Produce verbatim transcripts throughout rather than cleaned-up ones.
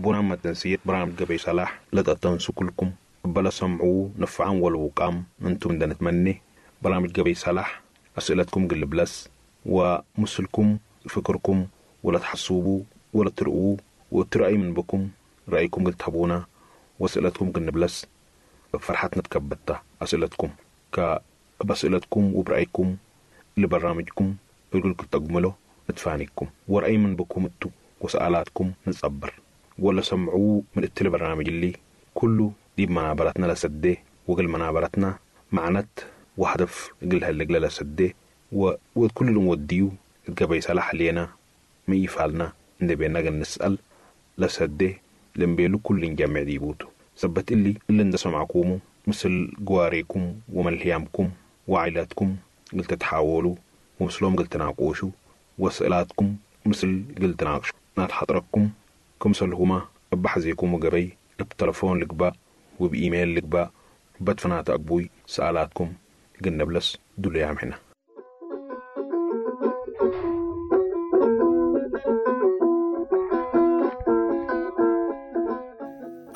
بونا تنسير برامج قبي صلاح لا تنسوا كلكم بلا سمعوا نفعا والوقام انتم دا نتمني برامج قبي صلاح أسئلتكم قل بلس ومسلكم فكركم ولا تحسوبوا ولا ترؤوا وترأي من بكم رأيكم قل تهبونا وأسئلتكم قل بلس فرحتنا تكبتها أسئلتكم كبأسئلتكم وبرأيكم لبرامجكم يقولكم تقملوا نتفانيكم ورأي من بكم انتو وسألاتكم نتصبر ولا سمعوا من التلي برنامج اللي كله دي منابرتنا لسدي وقل منابرتنا معنت وهدف قلها اللي قل لسدي وكل اللي موديو قبي صلاح لينا ما يفعلنا نبي نقل نسأل لسدي لنبيلو كل جمع ديبوتو ثبت اللي اللي اند سمعكم مثل جواريكم وملهيامكم وعائلاتكم قلت تحاولوا ومثلهم قلت تناقشوا واسئلاتكم مثل قلت تناقشوا نات حضركم كمثلهما بحزيكم وقبي بتلفون لقبا وبإيميل لقبا بدفنات أقبوي سألاتكم قلنا بلس دول يا حنا.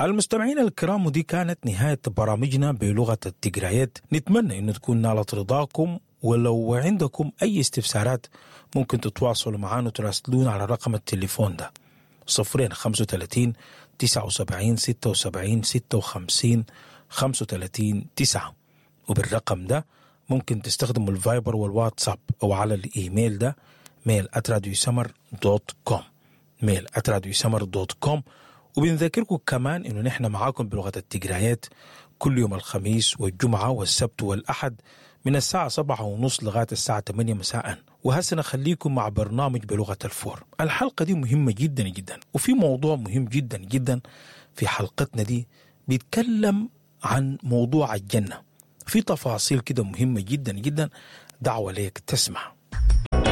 المستمعين الكرام، ودي كانت نهاية برامجنا بلغة التجريات. نتمنى أن تكون نالت رضاكم، ولو عندكم أي استفسارات ممكن تتواصلوا معنا وتراسلونا على رقم التليفون ده صفرين خمسة وثلاثين تسعة وسبعين ستة وسبعين ستة وخمسين خمسة وثلاثين تسعة، وبالرقم ده ممكن تستخدموا الفايبر والواتساب أو على الإيميل ده mail at راديو سمر dot com، mail at راديو سمر dot com. وبنذكركم كمان إنه نحن معاكم بلغة التجريات كل يوم الخميس والجمعة والسبت والأحد من الساعة سبعة ونص لغاية الساعة ثمانية مساء. وهسه نخليكم مع برنامج بلغة الفور. الحلقة دي مهمة جدا جدا، وفي موضوع مهم جدا جدا في حلقتنا دي بيتكلم عن موضوع الجنة، في تفاصيل كده مهمة جدا جدا. دعوة ليك تسمع.